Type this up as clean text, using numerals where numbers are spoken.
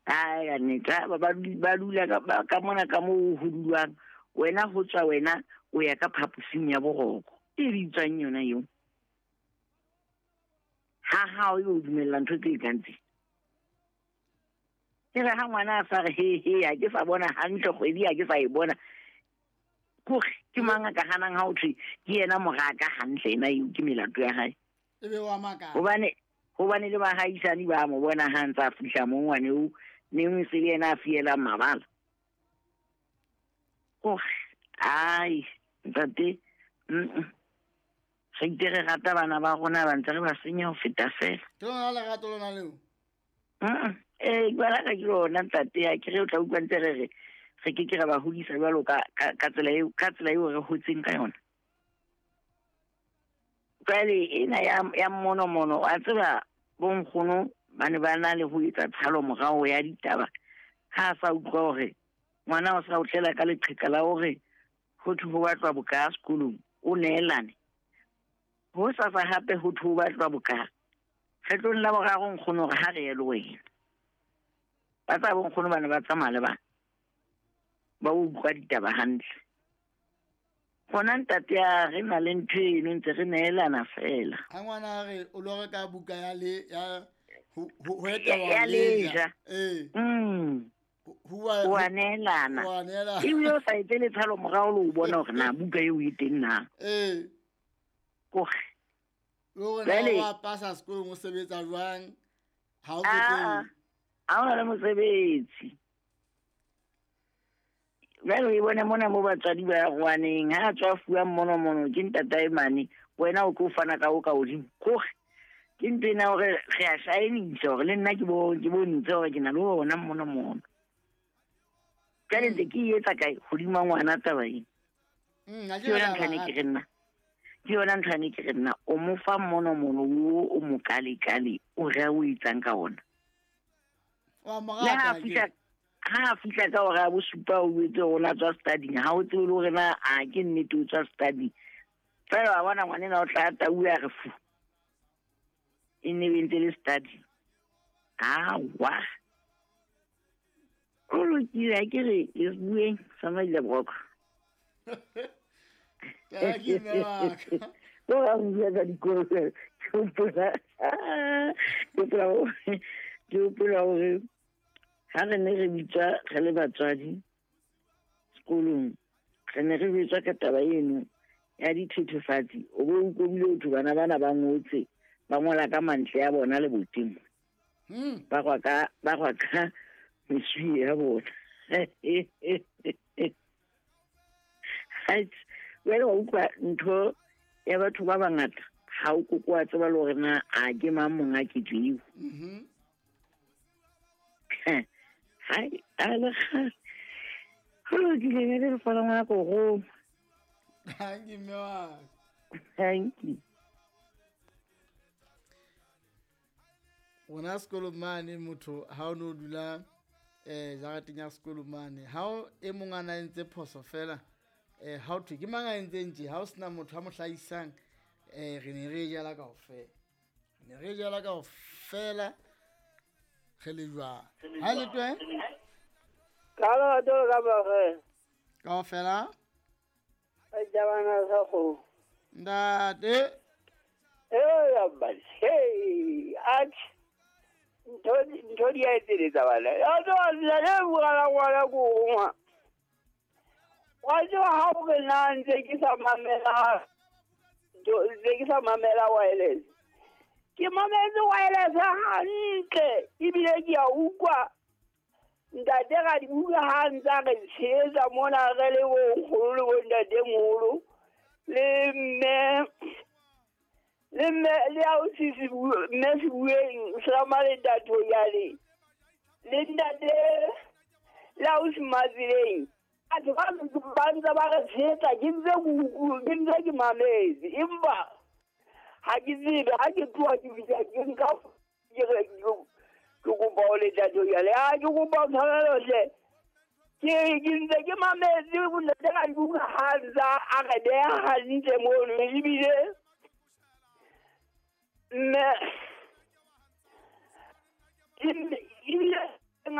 Ai ka nnete ba dula ka mona ka moo ho dulwang wena ho tswa wena o ya ka phaposing ya boroko e bitswang yona eo ha hao e o dumella ntho tse kang tse. Ke re ha ngwana a sa re he he ha ke sa bona hantle kgwedi ha ke sa e bona kore ke mang a ka hanang ha o thwe ke yena moraka hantle ena eo ke melato ya hae. Ebe wa makala. Hobane le bahaisane ba mo bona ha ntse a fihla mo ngwane o neng se le yena a fielang mabala. Kore ai ntate re itse re rata bana ba rona ba ntse re ba senya ho feta fela. Ke lona lerato lona leo? Bana ka ke lona ntate ya ke re o tla utlwa ntse re re re ke ke ra ba hodisa jwalo ka tsela eo ka tsela eo re hotseng ka yona. Jwale ena ya mmonomono wa tseba bonkgono ba ne ba na le ho etsa tshalo morao ya ditaba ha a sa utlwa hore ngwana o sa o tlela ka leqheka la hore ho thwe ho batlwa boka sekolong o neelane. Ho sasa hape ho thwe ho batlwa boka. Kgetlong la boraro nkgono hore ha re ye le wena. Ba tsa bonkgono ba ne ba tsamaya le bana. Ba utlwa ditaba hantle. Gona ntate ya re na le ntho eno ntse re neelana fela. Ha ngwana a re o lo reka buka ya le ya ho etela leja. Wa neelana. Ebile o sa etse letshalo morao le o bona hore na buka eo e teng na. Kore. Le hore na wa pasa sekolong o sebetsa jwang ha o teng. Ha ona le mosebetsi. Jwale o bone mona mo batswadi ba rwaneng ha tswa fuwa mmonomono ke ntatae mane wena o tlo fana ka o ka hodimo. Kore ke ntho ena hore re a shaenisa hore le nna ke bontshe hore ke na le ona mmonomono. Jwale ntse ke e etsa kae hodima ngwana taba ena. Ke yona ntho ane ke re nna. Ke yona ntho ane ke re nna o mo fa mmonomono o mo kale-kale o re o etsang ka ona. Wa morata. Ha fihla ka hora ya bosupa o etse rona tswa studying ha o tsebe le hore na a ke nnete o tswa studying. Fela wa bona ngwanena o tla tau ya re fu. E ne e ntse le study. Awa. O lokile ha ke re ke bueng sa maile broko. Ke mme wa ka. Ko ba bua ka dikolo ke hopola. Ke hopola hore ha re ne re bitswa re le batswadi sekolong re ne re bitswa ka taba eno ya dithethefatsi o bo utlwile ho thwe bana bana ba ngotse ba ngola ka mantle ya bona le boteng. Ba kwa ka meswi ya bona. Jwale wa utlwa ntho ya batho ba bangata ha o koko wa tseba le hore na a ke mang monga ketso eo. Hai, a le kgale. Ho lokile ne re fana ngwana ko roma. Thank you, mme wa ka. Thank you. Rona sekolo mane motho ha o no dula jarateng ya sekolo mane ha o e mong a na entse phoso fela ha o thwe ke mang a entseng tje ha o sena motho a mo hlahisang re ne re jala kaofela. Re ne re jala kaofela re le jwang. Ha le twe? Ka lerato ka bare. Kaofela? Ba jabana sa go. Ntate. Ya ba. Hey, at ntho di a etseletsa bana. Ya tswa le bua ngwana ko ngwa. Wa tswa ha o re na ntse ke sa mamela. Ntse ke sa mamela wireless. Ke mametse wireless hantle ebile ke a utlwa ntate ga di bua ha ntse a re tshehetsa mona re le bonkgono le bontatemoholo le mme le ausi mme Sebueng Selama le ntate Yale le ntate le ausi Matseleng. Batho ba ntse ba re tshehetsa ke ntse ke mametse empa ha ke tsebe ha ke tloha ke fihla ke nka ke re ke kopa o le ntate Yale a ke kopa o tshwarelo hle. Ke ntse ke mametse ntate ga di bua ha ntse a re beha hantle mono ebile mme ebile